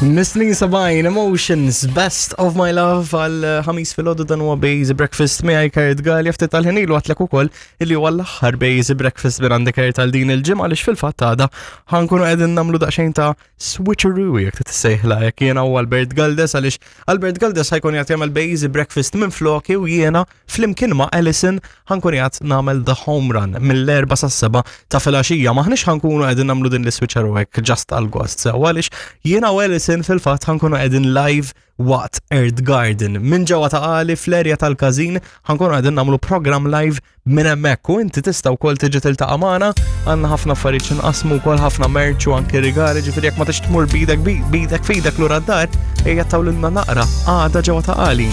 Miss Sabine, Emotions, Best of My Love għal eh, ħamis fil-ħodu dan huwa Bejzi Breakfast miegħi Kurt Galli ftit tal-ħin ilu għatlek ukoll illi huwa l-aħħar Bejzi Breakfast minn għandi Kurt għal din il-ġimgħa għaliex fil-fatt għada ħankunu qegħdin nagħmlu daqsxejn ta' switcheroo jekk tissejħla jekk jiena u Albert Galdes għaliex Albert Galdes ħajkun jagħti jagħmel Bejzi Breakfast minn floki u jiena flimkien ma' Alison ħankun qiegħed nagħmel the home run mill-erba sa' seba ta' filgħaxija. Maħniex ħankunu qegħdin nagħmlu din l-switcher u hekk just għal gost sew għaliex jiena u Alison fil-fatt ħankunu qegħdin live waqt Earth Garden. Minn ġewwa ta' għali fl-erja tal-każin ħankunu qegħdin nagħmlu program live minn hemmhekk u inti tista' wkoll tiġi tiltaqa' magħna għandna ħafna affarijiet x'inqasmu wkoll ħafna merch u anke rigali ġifieri jekk ma tix tmur bidek bidek fidek lura d-dar ejja tawlilna naqra għada ġewwa ta' għali.